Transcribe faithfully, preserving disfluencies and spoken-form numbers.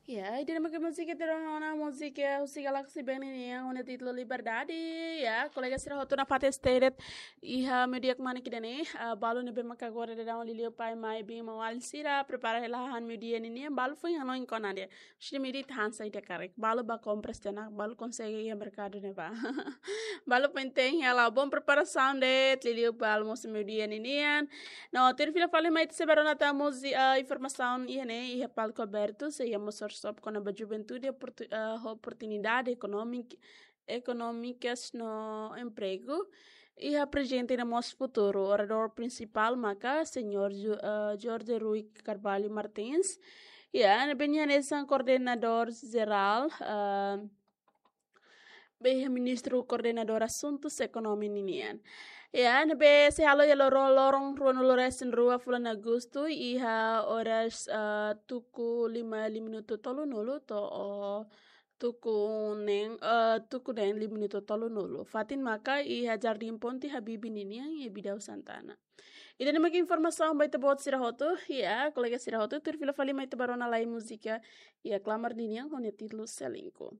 Ya, ida-ne'e mak múzika ita rona ona, múzika husi Galaxy Band nian ho nia títulu Liberdade. Ya, kolega sira hotu nafatin de'it iha meiudia kmanek ida-ne'e, ah, balu ne'ebé maka agora daudaun liuliu pai, mai, biin, maun-alin sira prepara hela hahán meiudia ninian, balu foin hanoin kona-ba de'it. Husi meiudia ita han sai ita karik. Balu bá kompras tiha ona, balu konsege iha merkadu ne'ebá. Balu foin te'in hela, bom preparasaun de'it, liuliu ba almosu meiudia ninian. No, tuir fila fali mai ita sei bá rona tan mós, ah, informasaun iha ne'e, iha palku abertu, sei iha mós workshop kona-ba juventude, oportu-, ah, oportunidade ekonómik-, ekonómikas no empregu. Iha prezente no mós futuru, oradór prinsipál maka Señór Ju-, ah, Jorge Rui Carvalho Martins. Ya, ne'ebé nia hanesan koordenadór jerál, ah, be iha Ministru Koordenadór Asuntus Ekonomia ninian. Ya, ne'ebé sei halo iha loron, loron ruanulu-resin-rua fulan Agostu, iha oras, ah, tuku lima, lima minutu tolunulu to'o tuku neen, ah, tuku neen lima minutu tolunulu. Fatin maka iha Jardim Ponte Habibie ninian iha Bidau Santana. Ida-ne'e mak informasaun ba ita-boot sira hotu, ya, kolega sira hotu, tuir fila fali mai ita bá rona lai múzika, ya, Klamar ninian ho nia títulu Selingkuh.